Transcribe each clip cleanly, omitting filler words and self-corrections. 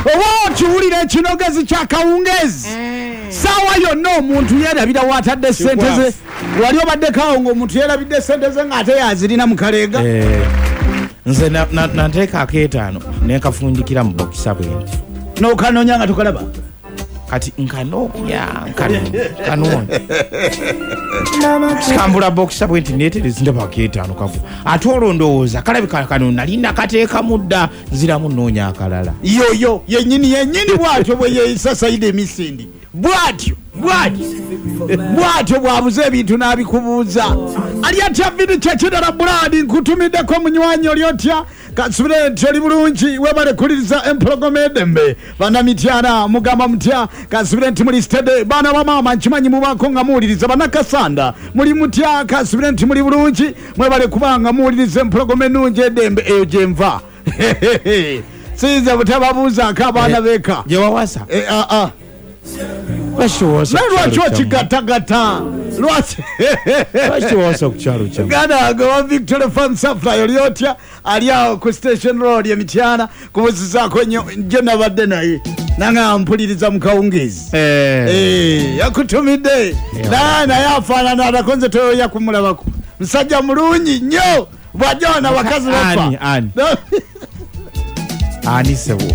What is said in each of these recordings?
Oba okiwulira ekinogezi kya kawungeezi, saawa yonna omuntu yeerabira waatadde sente ze. Wali obaddeko awo ng'omuntu yeerabidde sente ze ng'ate yazirina mu kaleega? Eh, nze nanteeka akeetaano nenkafundikira mu bokisa bwe nti. N'okanoonya nga tokalaba. Kati nkanoonya, nkanoonya, sikambula bokisa bwe nti neeterezi, ndaba akeetaano kagu, ate olwo ndowooza kalabika kano nali nakateekamu dda, nziramu nnoonya akalala. Yoyo yenyini yenyini bwatyo bwe yeeyisa Saida emisindi, bwatyo bwatyo bwatyo bwabuza ebintu n'abikubuuza. Ali atya vini kyekirala buladi nkutumiddeko munywanyi, oli otya? Kansubire nti oli bulungi. Webale kuliriza empologoma edembe. Banamityana mugamba mutya? Kansubire nti muli steady. Baana ba maama, nkimanyi mubaako nga muwuliriza. Banakasanda muli mutya? Kansubire nti muli bulungi. Mwebale kubanga muwuliriza empologoma ennungi edembe eyo gyenva. Siyinza butababuuzaako abaana beka. Gye wawasa? Eh, ah, ah. Lwaki wawasa? Naye Ku kyalo lwaki kyammwe? okigattagatta? Lwaki? Lwaki wawasa ku kyalo kyammwe? Ganda wange wa Victory Farm Supply, oli otya? Ali awo ku Station Road emityana, kubuzizaako nnyo. Gye nabadde naye nanga mpuliriza mu kawungeezi. Eh. Eh, yakutumidde. Naye afaanana atako, nze toyoya kumulabako. Musajja mulungi nnyo, bw'ajja wano abakazi bafa. Ani, ani? Ani sebo?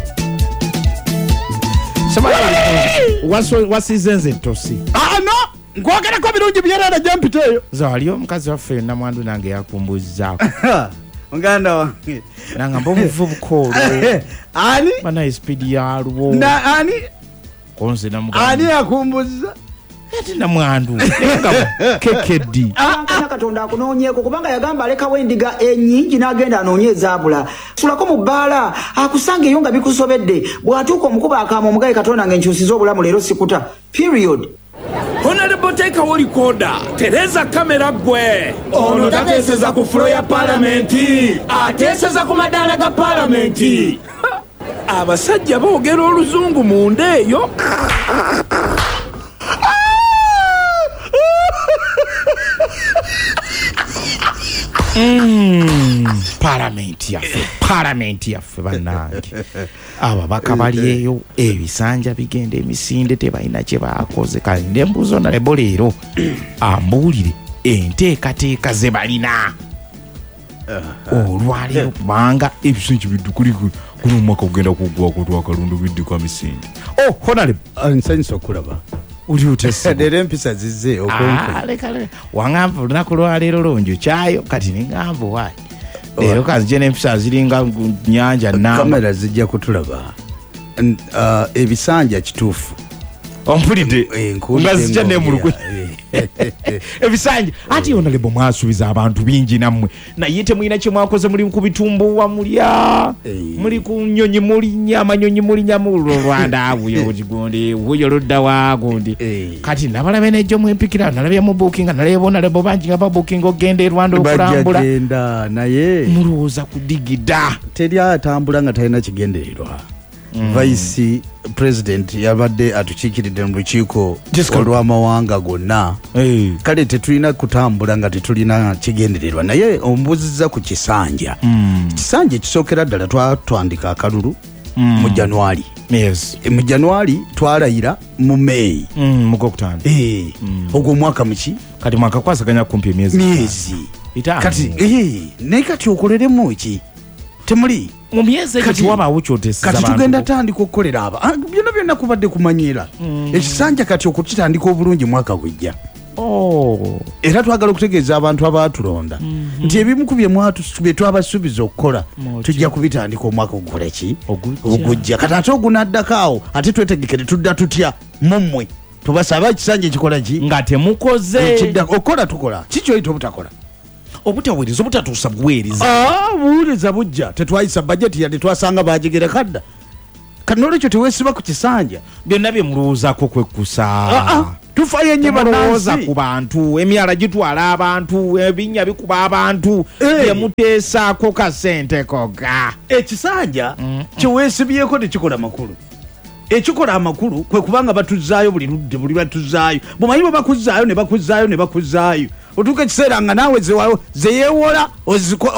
Wasize nze ettosi. Ah, no, nkwogerako birungi byerere gyempita eyo. Nze wali omukazi waffe namwandu nange yakumbuzaako. Muganda wange. Nangamba omuvubuka olwo. Ani? Banaye sipiidi yalwo. Na ani? Konze Ani namugamba. yakumbuza? Ate namwandu naye nga kekeddi. Kankana Katonda akunoonyeeko, kubanga yagamba alekawo endiga ennyingi n'agenda anoonye ezaabula. Sulako mu bbaala akusanga eyo nga bikusobedde, bw'atuuka omukuba akaama omugaye, Katonda nga enkyusiza obulamu, leero sikuta, period. Honorable, teekawo likoda, tereza kamera gwe. Ono tateeseza ku floor ya palamenti, ateeseza ku madaala ga palamenti. Abasajja boogera oluzungu munda eyo. Palamenti yaffe, palamenti yaffe bannange, ababaka bali eyo, ebisanja bigenda emisinde, tebalina kye bakoze. Kale nembuuza honorable leero ambuulire enteekateeka ze balina olwaleero, kubanga ebisanja biddukuli guno omwaka gugenda kuggwako twakalundu bidduka misinde. Oh, honorable. Nsanyusa okulaba. Oli otya ssebo? Leero empisa zizze okumpe. Ah, leka leka, waŋŋamba olunaku lwaleero lonjo kyayo, kati neŋŋamba waayi leero kanzije n'empisa ziringa nyanja namba. Kamera zijja kutulaba. Ebisanja kituufu. Ompulidde? Eh, nkuwulidde. Nga zijja ng'ongera. nemulugwe. Ebisanja ati honorable mwasuubiza abantu bingi nammwe, naye temulina kye mwakoze. Muli ku bitumbuwa mulya, muli ku nyonyi mulinya amanyonyi, mulinya mu Rwanda wuyo gundi wuyo ludda wa gundi. Kati nabalabe nejjo mwempikira, nalabye mu buukinga, nalabye honorable bangi nga babuukinga okugenda e Rwanda Bajja okulambula. genda naye Mulowooza kudigida. Teri atambula nga talina kigendererwa. Vice President yabadde atukiikiridde mu lukiiko Jessica. olw'amawanga gonna. Eh. Kale tetulina kutambula nga tetulina kigendererwa, naye ombuuzizza ku kisanja. Kisanja ekisookera ddala, twatwandika akalulu mu January. Mu January twalayira mu May. Mugwokutaano. Eh, ogwo omwaka muki? Kati mwakakwasaganya kumpi emyezi Myezi 5. Kati naye kati okoleremu ki? Temuli. Mu myezi egyo tewabaawo kyoteseza Kati bantu. tugenda tandika okukolera aba. Ah, byonna byonna kubadde kumanyiira. Ekisanja kati okukitandika obulungi mwaka gujja. Oh. Era twagala okutegeeza abantu abaatulonda nti ebimu ku bye twabasuubiza okukola tujja kubitandika omwaka ogukola ki? Ogujja. Ogujja. Kati ate ogunaddako awo ate twetegekere tudda tutya mummwe tubasaba ekisanja ekikola ki? Nga temukoze. Ekidda okukola tukola kikyoyita obutakola. Obutaweereza, obutatuusa buweereza. Ah, buwuliriza bujja. Tetwayisa bajeti yadde, twasanga bagigereka dda. Kati nolwekyo teweesiba ku kisanja. Byonna bye mulowoozaako kwekkusa. Ah, ah, tufayo nnyo Temulowooza bannansi. ku bantu. Emyala gitwala abantu, ebinnya bikuba abantu. Eh. Byemuteesaako kasente koga. Ekisanja kyeweesibyeko tekikola makulu. Ekikola amakulu kwe kubanga batuzaayo buli ludde, buli batuzaayo, bumanyi bwe bakuzzaayo ne bakuzzaayo ne bakuzzaayo, otuuka ekiseera nga naawe zeyeewola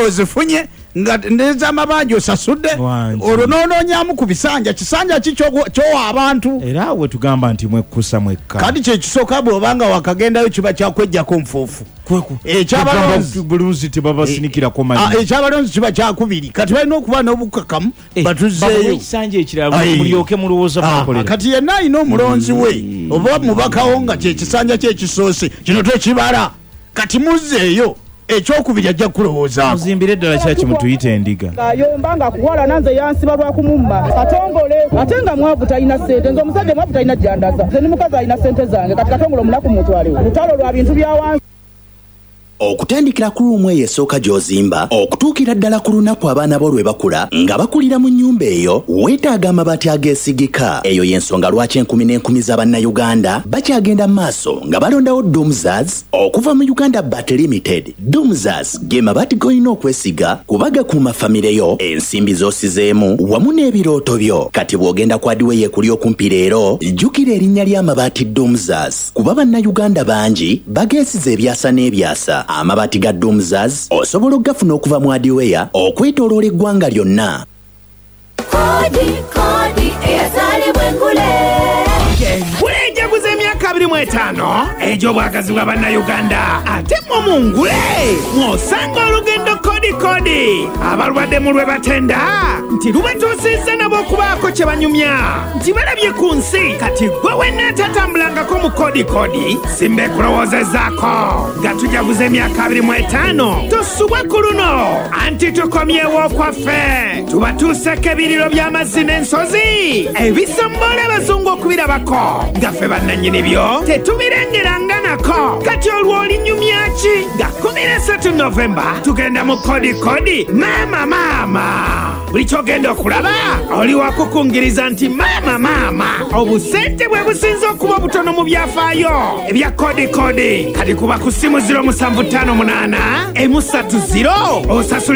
ozifunye. Nga nezamabanja osasudde, Wangi. olwo nonoonyamu ku bisanja. Kisanja ki kyowa abantu? Era we tugamba nti mwekkusa mwekka. Kati kyekisooka, bw'obanga wakagendayo, kiba kyakwejjako nfuufu. Ekyabalonzi Bulunzi tebabasinikirako Ah, manyi. ekyabalonzi kiba kyakubiri. Kati balina okuba n'obukakamu, Eh, batuzeeyo. babawe ekisanja ekirala, Aye. mulyoke mulowooza Ah, mukolera. kati yenna alina omulonzi we oba mubakawo nga kyekisanja kyekisoose kino tekibala, kati muzzeeyo ekyokubiri, ajja kukulowoozaako. Muzimbire eddala kyaki, mutuyite endiga. Ayomba nga akuwalana, nze yansiba lwakumumma Katongole, ate nga mwavu, talina ssente. Nze omusajja mwavu talina jandaza, nze ni mukazi alina ssente zange. Kati Katongole omunaku mutwalewo, lutalo lwa bintu bya wansi. Okutandikira ku ruumu eyo esooka gy'ozimba okutuukira ddala ku lunaku abaana bo lwe bakula nga bakulira mu nnyumba eyo, weetaaga amabaati ageesigika. Eyo y'ensonga lwaki enkumi n'enkumi z'abannayuganda bakyagenda mu maaso nga balondawo Dumzas okuva mu Uganda Bat Limited. Dumzas ge mabaati g'olina okwesiga kuba gakuuma famire yo, ensimbi z'osizeemu wamu n'ebirooto byo. Kati bw'ogenda ku hardware ekuli okumpi leero, jjukira erinnya ly'amabaati Dumzas, kuba bannayuganda bangi bageesiza ebyasa n'ebyasa. Amabaati ga Dumzas osobola okugafuna okuva mu hardware okwetooloola eggwanga lyonna. Kodi kodi eyazaalibwa engule. Engule ejaguza emyaka 25 egy'obwagazi bwa bannayuganda, ate mmwe mu ngule mw'osanga olugendo kodi kodi. Abalwadde mu lwe batenda nti lubatuusizza nabo okubaako kye banyumya nti balabye ku nsi. Kati gwe wenna atatambulangako mu kodi kodi, simba ekulowoozezaako nga tujaguza emyaka 25, tosubwa ku luno, anti tukomyewo okwaffe, tubatuuseko ebiriro by'amazzi n'ensozi ebisombola abazungu okubirabako nga ffe bannannyini byo tetubirengeranga nako. Kati olwo olinyumya ki? Nga 13 Novemba tugenda mu kodi kodi. Maama maama, buli kyogenda okulaba oli wakukungiriza nti maama maama, obusente bwe businze okuba obutono mu byafaayo ebya kodi kodi. Kati kuba ku ssimu 0758 130 osasulira.